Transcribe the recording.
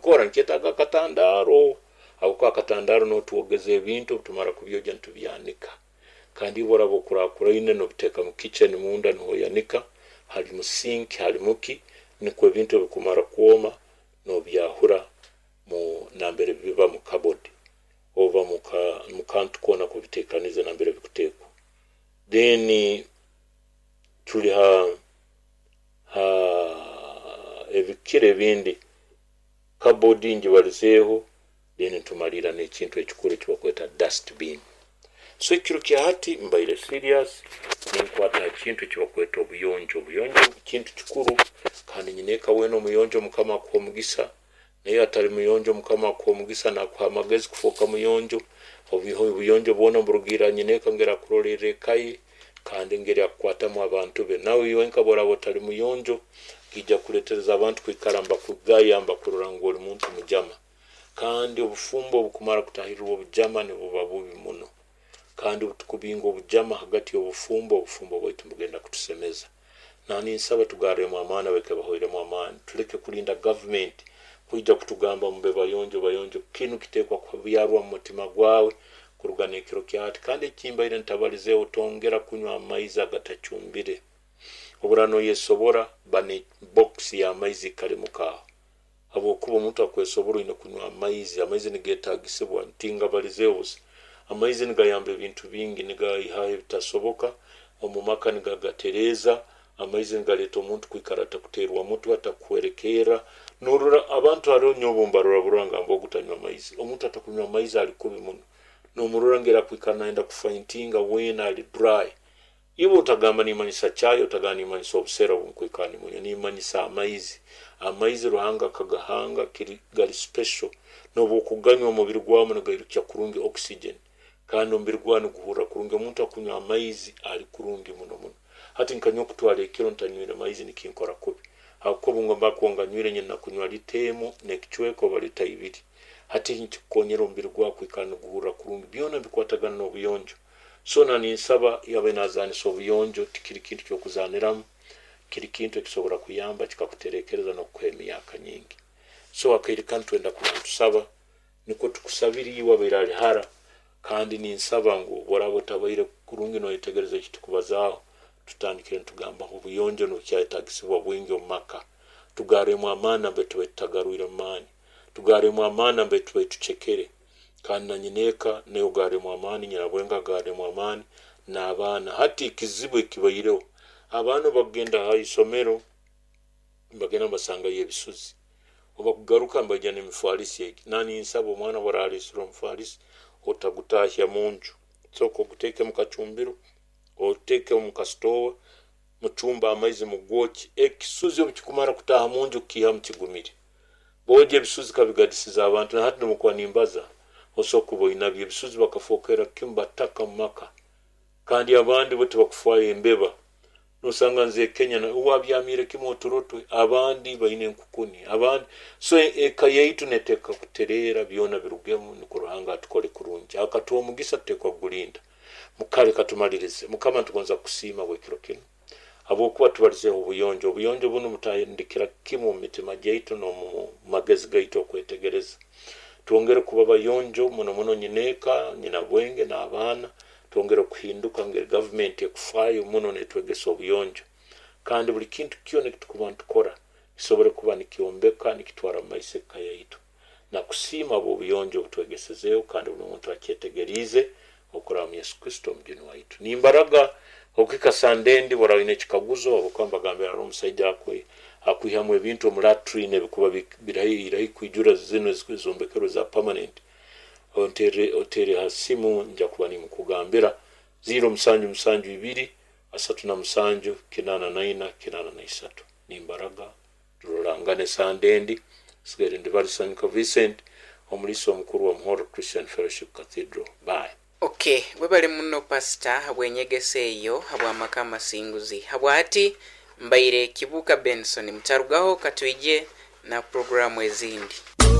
Nkikora nkyetaaga akatandaaro, habwokuba akatandaaro nuho twogeza ebintu, obu tumara kubyogya nitubyanika. Kandi iwe oraba okurakuraine nobiteeka mu kitchen munda nuho oyanika, hali mu sink, hali muki, nikwo ebintu obu bikumara kwoma nobyahura mu nambere biba mu cupboard oba mu kantu koona ak'obiteekaniize nambere bikuteekwa. Then tuli ha ebikiro ebindi, cupboard ngibalizeeho, then nitumaliira n'ekintu ekikuru eki bakweta dust bin. So ekiro kya hati mbaire serious ninkwata ha kintu eki bakweta obuyonjo. Obuyonjo kintu kikuru, kandi nyineeka weena omuyonjo Mukama akuha omugisa, naye atali muyonjo Mukama akuha omugisa nakuha amagezi kufooka muyonjo. Obuyonjo bwona niburugiirra ha nyineeka engeri akurolerra eka ye, kandi engeri akukwatamu abantu be. Nawe iwenka obu oraaba otali muyonjo, kiija kuleetereza abantu kwikara nibakugaya, nibakurora ngu oli muntu mujama. Kandi obufumbo obu bukumara kutaahirirwa obujama nibuba bubi muno. Kandi obu tukubinga obujama hagati y'obufumbo, obufumbo bwaitu nibugenda kutusemeza. Na ninsaba tugarremu amaani abaikaire bahoiremu amaani, tuleke kulinda gavumenti kwija kutugamba mube bayonjo bayonjo. Kinu kiteekwa kubyarwa mu mutima gwawe kuruga n'ekiro kya hati. Kandi ekimbaire ntabalizeeho, tongera kunywa amaizi agatacumbire. Oburaaba noyesobora, ba ne box y'amaizi ikale muka aho. Habwokuba omuntu akwesobora oine kunywa amaizi. Amaizi nigetaagisibwa, ntingabalizeeho busa. Amaizi nigayamba ebintu bingi, nigaihaho ebitasoboka, omu maka nigagatereeza, amaizi nigaleeta omuntu kwikara atakuteerwa mutwe, atakuhwerekerra. Norora abantu haroho nyowe obu mbarora burora ngamba ogu tanywa amaizi. Omuntu atakunywa amaizi ali kubi muno. Nomurora ngeri akwikara nayenda kufaintinga weena ali dry. Iwe otagamba nimanyisa chai, otagamba nimanyisa obusera obu nkwikara nimunywa, nimanyisa amaizi. Amaizi Ruhanga akagahanga kiri gali special. Nobu okuganywa omubiri gwawe nigairukya kurungi oxygen, kandi omubiri gwawe niguhurra kurungi. Omuntu akunywa amaizi ali kurungi muno muno. Hati nka nyowe kutwara ekiro ntanywire maizi nikinkora kubi. Habwokuba obu mba kuba nganywire nyina kunywa lita emu n'ekicweka oba lita ibiri. Hati nikikukonyera omubiri gwawe kwikara niguhurra kurungi. Byona bikwatagana n'obuyonjo. So na ninsaba yabe nazaanisa obuyonjo, tikiri kintu ky'okuzaaniramu, kiri kintu ekisobora kuyamba kikakuterekereza n'okukuha emyaka nyingi. So akaire kanu twenda kuba nitusaba, nikwo tukusabire iwe abaire ali hara, kandi ninsaba ngu obu oraaba otabaire kurungi noyetegereza eki tukubazaaho, tutandikire nitugambaho obuyonjo nibukyayetagisibwa bwingi omu maka. Tugarremu amaani nambere tubaire tutagarwiremu maani. Tugarremu amaani nambere tubaire tucekere. Kandi na nyineeka nawe ogarremu amaani, nyinabwenge agarremu amaani, n'abaana. Hati ekizibu ekibaireho, abaana obu bakugenda ha isomero, nibagenda nibasangayo ebisuzi. Obu bakugaruka nibaija n'emifaalisi egi. Na ninsaba omwana obu araaleesere omufaalisi, otagutaahya munju. Sooka oguteeke mu kacumbiro, oteeke omu kasitoowa, mucumbe amaizi mugwokye. Ekisuzi obu kikumara kutaaha munju kukiihamu kigumire. Boogya ebisuzi kabigadisiza abantu. Na hati nobu nkuba nimbaza, osobola kuba oinabyo. Ebisuzi bakafookera kimu bataka mu maka. Kandi abandi bo tibakufaayo embeba. Nosanga nze Kenya uwe abyamiire kimu oturo twe, abandi baine enkukuni, abandi. So eka yaitu neteekwa kutereera, byona birugemu nukwo Ruhanga atukole kurungi. Akatuha omugisa tuteekwa kugulinda. Kale katumalirize. Mukama nitugonza kukusiima habw'ekiro kinu, habwokuba tubalizeeho obuyonjo. Obuyonjo bunu butandikira kimu omu mitima gyaitu n'omu magezi gaitu okwetegereza. Twongere kuba bayonjo muno muno nyineeka, nyinabwenge n'abaana. Twongere kuhinduka ngeri gavumenti ekufaayo muno netwegesa obuyonjo. Kandi buli kintu kyona ekitukuba nitukora kisobole kuba nikyombeka, nikitwara mu maiso eka yaitu. Nakusiima habw'obuyonjo obutwegesezeeho kandi buli muntu akyetegeriize okuraba mu Yesu Kristo omujuni waitu. Nimbaraga okuhika Sande endi bw'oraaba oine ekikaguzo, habwokuba mbagambira haroho omusaija akwihamu ebintu omu latrine ebikuba biri kwijura zinu ezombekerwe za permanent. Oteere ha simu nja kuba nimukugambira 0772 37 84 83. Nimbaraga turorangane Sande endi. Sigaire ndi Balisanyuka Vincent, omuliisa omukuru wa Muhorro Christian Fellowship Cathedral. Bye. Ok, webale muno pastor habw'enyegesa eyo habw'amaka amasinguzi. Habwahati mbaire Kibuuka Benson. Mutarugaho katwije na puroguramu ezindi.